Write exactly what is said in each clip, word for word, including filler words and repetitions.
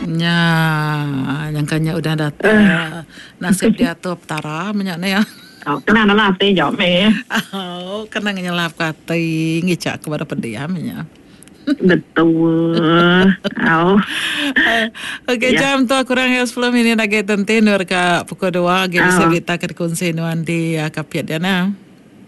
Nya, nyangkanya udah datai uh. Nasib diatur Petara menyak ni ya. Oh, kena nala ati jauh me. Oh, kena ngenyelap ke ati ngicak kepada pediam nya. Betul. Oh. Okey, ya. Jam tu kurang ya sepuluh minit lagi tentu nur ke pukul dua lagi bisa berita ke dikongsi nuan di uh, Kapit dia nah.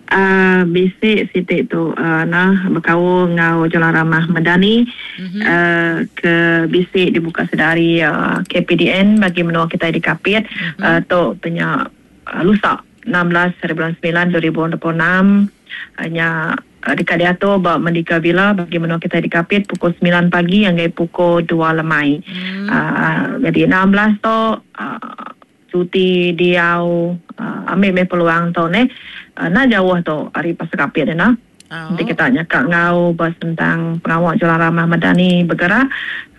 Uh, bisik sitik tu uh, nah berkaul ngau Jalan Ramah Madani mm-hmm. uh, ke bisik dibuka sedari uh, K P D N bagi menua kita di Kapit mm-hmm. uh, tu punya uh, lusa enam belas hari bulan sembilan dua ribu dua puluh enam hanya uh, dekat diatur ba Merdeka Villa bagi menua kita di Kapit pukul sembilan pagi hingga pukul dua lemai. Mm. Uh, jadi enam belas tu uh, cuti diau uh, ambil me peluang tu ne uh, nak jauh tu hari pasar Kapit ni nah. Oh. Nanti kita nyakak ngau bahas tentang pengawal Jalan Ramah Madani bergerak.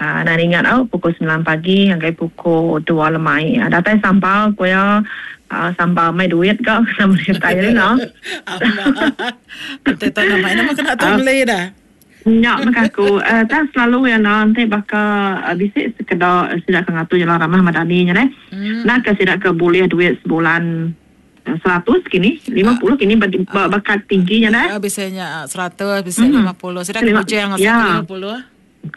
Uh, dan ingat oh, pukul sembilan pagi hingga pukul dua lemai. Uh, datang sampal kuya uh, sampal mai duit kau sama kita ni no. Nanti tak nama nama kena tu beli dah. Nyak maka aku uh, tak selalu ya nanti bakal uh, bisik sekedar uh, sidak ke ngatur Jalan Ramah Madani nya deh. Hmm. Nak ke sidak ke boleh duit sebulan seratus kini, lima puluh kini bakat tingginya dah. Uh, biasanya seratus, bisa hmm. lima puluh. Sidak ke bujang ya. lima puluh.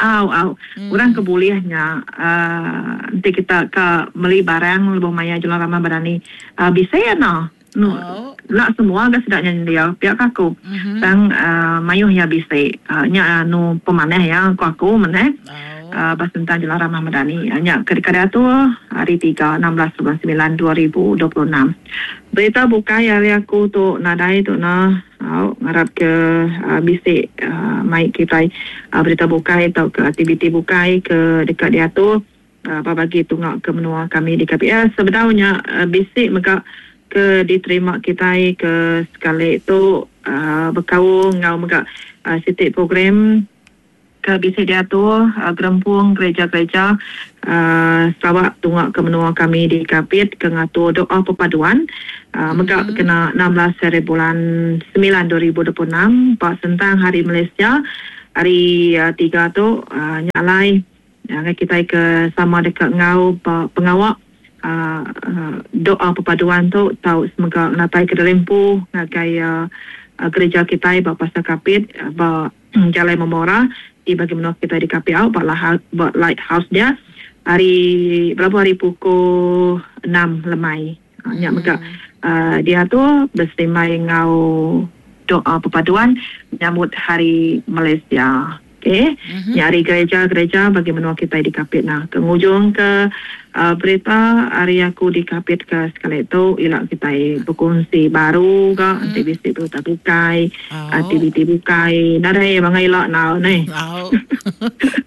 Au au. Hmm. Orang kebolehnya uh, nanti kita ke beli barang lebih maya Jalan Ramah Madani. Uh, bisa ya no. No, oh. Nak semua ke sedaknya dia pihak aku. Mm-hmm. Tang uh, mayuh ya bisa uh, nya anu pemanah ya aku aku meneh. Oh. Uh, bas tentang Jalan Ramah Madani. Uh, nya ketika tu hari tiga enam belas bulan sembilan dua ribu dua puluh enam. Berita bukai hari aku tu nadai tu nah uh, ngarap ke uh, bisik uh, mai kita uh, berita bukai atau ke aktiviti bukai ke dekat dia tu uh, bagi tungak ke menua kami di K P S sebenarnya uh, bisik mega ke diterima kita ke sekali tu uh, berkaul ngau mega uh, sitik program ke bisa diatur uh, gerempung gereja-gereja uh, Sarawak tungak ke menua kami di Kapit ke ngatur doa perpaduan uh, mega mm-hmm. kena enam belas hari bulan sembilan dua ribu dua puluh enam pak tentang Hari Malaysia hari uh, tiga tu uh, nyalai uh, kita ke sama dekat ngau pengawak Uh, uh, doa perpaduan tu tau semoga natai ke dalempu ngagai uh, uh, gereja kita ba Pasar Kapit uh, ba Jalan Memora di bagi menua kita di K P A ba ba lighthouse dia hari berapa hari pukul enam lemai uh, nyak mega uh, dia tu bersemai ngau doa perpaduan menyambut Hari Malaysia. Okey, mm-hmm. Nyari gereja-gereja bagi menua kita di Kapit nah. Ke ujung ke uh, berita hari aku di Kapit ke sekali tu ilak kita berkongsi baru ke mm-hmm. nanti bisik berita bukai, oh. Aktiviti bukai. Nadai bangai ilak nau ni. Oh.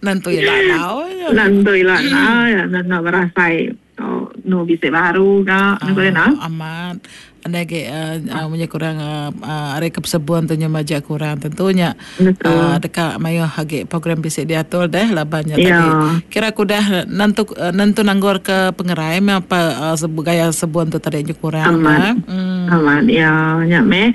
Nantu ilak nau. Nantu ilak nau ya nak berasai. Oh, nu bisik baru ke oh, boleh nah. Amat. Anda ke uh, punya kurang uh, hari kesebuan tu majak kurang tentunya uh, dekat mayo hagi program bisik diatur deh labannya ya. Tadi kira aku dah nantu uh, nantu nanggor ke pengerai apa uh, sebu gaya sebuan tu tadi kurang aman hmm. Aman ya nyak me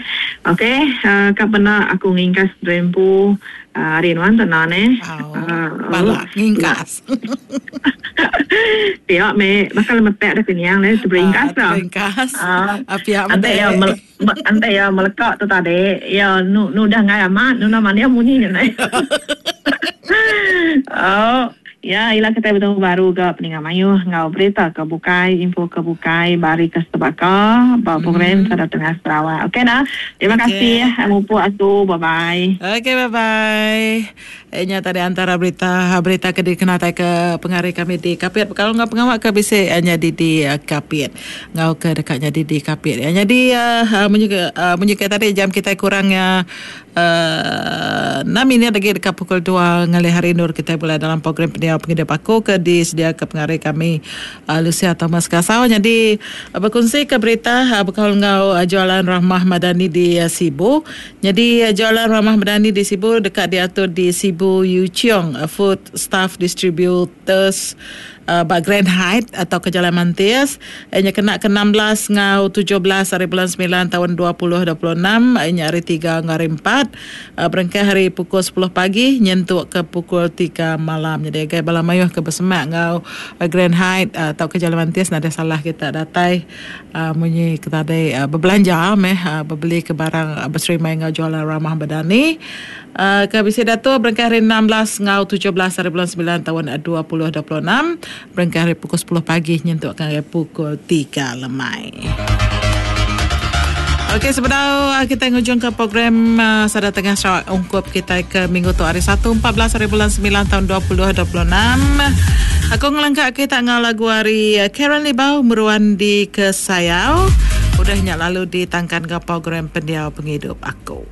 okey uh, kapena aku ngingkas rempu uh, hari nuan tenan eh oh, balak ngingkas pihak me bakal metek dah kenyang le teringkas dah teringkas pihak ante ya ante ya melekat tu tadi ya nu nu dah ngai amat nu nama dia bunyi ni. Oh ya ila kita bertemu baru ke peningan mayu ngau berita ke bukai info ke bukai bari ke sebaka ba program mm. Sada Tengah Sarawak. Okey dah. Terima okay. kasih mupu aku bye bye. Okey bye bye. Nya tadi antara berita berita ke dikenatai ke pengari kami di Kapit. Kalau ngau pengawak ke bisa nya di di Kapit. Ngau ke dekatnya di di Kapit. Ya jadi uh, menyukai uh, menyukai tadi jam kita kurangnya uh, enam ini lagi dekat pukul dua ngalih hari nur kita mulai dalam program pendiau penghidup aku ke disedia ke pengari kami uh, Lucia Thomas Kasau. Jadi uh, berkongsi ke berita uh, bekal ngau uh, jualan Rahmah Madani di uh, Sibu. Jadi uh, jualan Rahmah Madani di Sibu dekat diatur di Sibu Yu Chiong uh, Food Staff Distributors uh, ba Grand Height atau ke Jalan Mantis. Nya kena ke enam belas ngau tujuh belas hari bulan sembilan tahun dua ribu dua puluh enam, nya hari tiga ngau hari empat. Sabat uh, berengkah hari pukul sepuluh pagi nyentuk ke pukul tiga malam. Jadi agai bala mayuh ke bersemak ngau uh, Grand Height uh, atau ke Jalan Mantis nada salah kita datai uh, munyi kita tadi uh, berbelanja meh uh, berbeli ke barang uh, berserimai ngau jualan Ramah Madani. Uh, ke bisi datu berengkah hari enam belas ngau tujuh belas hari bulan sembilan tahun dua ribu dua puluh enam berengkah hari pukul sepuluh pagi nyentuk ke pukul tiga lemai. Okey, sebenarnya kita ngujung ke program uh, Sada Tengah Sarawak ungkup kita ke minggu tu hari Satu empat belas hari bulan sembilan tahun dua ribu dua puluh enam. Aku ngelengkap kita ngau lagu hari Karen Libau Meruan di Kesayau. Udah nyak lalu ditangkan ke program Pendiau Penghidup Aku.